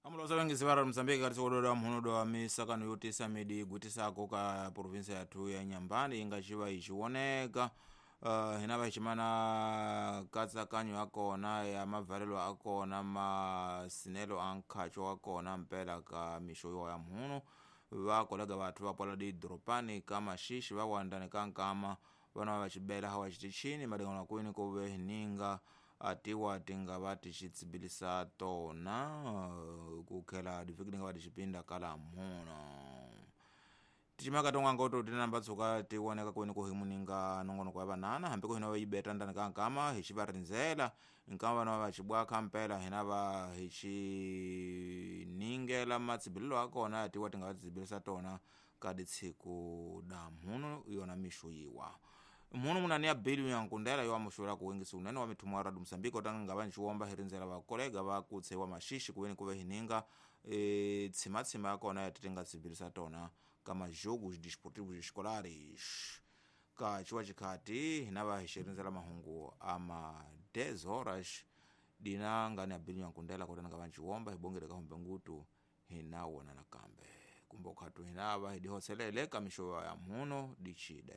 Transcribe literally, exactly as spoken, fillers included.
Amulosa vengisi va ra Mozambique kati sikododa mhuno wa misakano yotisa midi igutisako ka provinsia yathu ya Nyambani inga xiva ixioneka. uh, hina va ximana katsakanyo ya kona ya mavalelo a kona, masinelo a nkhacho wa kona mpela ka mixo yo ya mhuno va kolega vathu va pola didorobani ka maxixi va wandani ka nkama vana va xibela hawa xitichini madingano kwini ku ve hininga atiwa tinga va tixi tona uh, ku khela divhiki tinga va tixipinda kala mhuno ticimaka ton'wanga to tinamba tshuka ti voneka kwini ku hi muninga nongonoko ya vanana hambi ku hina va yi beta ndani ka nkama hi xi va rindzela nkama vana va xibwaka mpela hina va hi xi ningela matsibilelo ya kona ya tiwa tinga va tsibilisa tona ka ditshiku da mhuno yona mixo yiwa mhuno munani ya bili ya nkundela yo amuxula ku wengisi unene wa mithumo wa radio Mozambique otanga nga va nxiwomba hi rindzela vakolega va kutse wa maxixi kuweni kuve hininga e, tshimatsima ya kona ya titinga tsibilisa tona ka majogos desportivos escolares ka ciwa xikhati hina va hi xirindzela mahungu ama dez horas dina ngani ya bili ya nkundela kotana nga va nxiwomba hi bongele ka humbe ngutu hina wona nakambe kumbe ukhatu hina va hi dihoselele ka mixo ya mhuno dichide.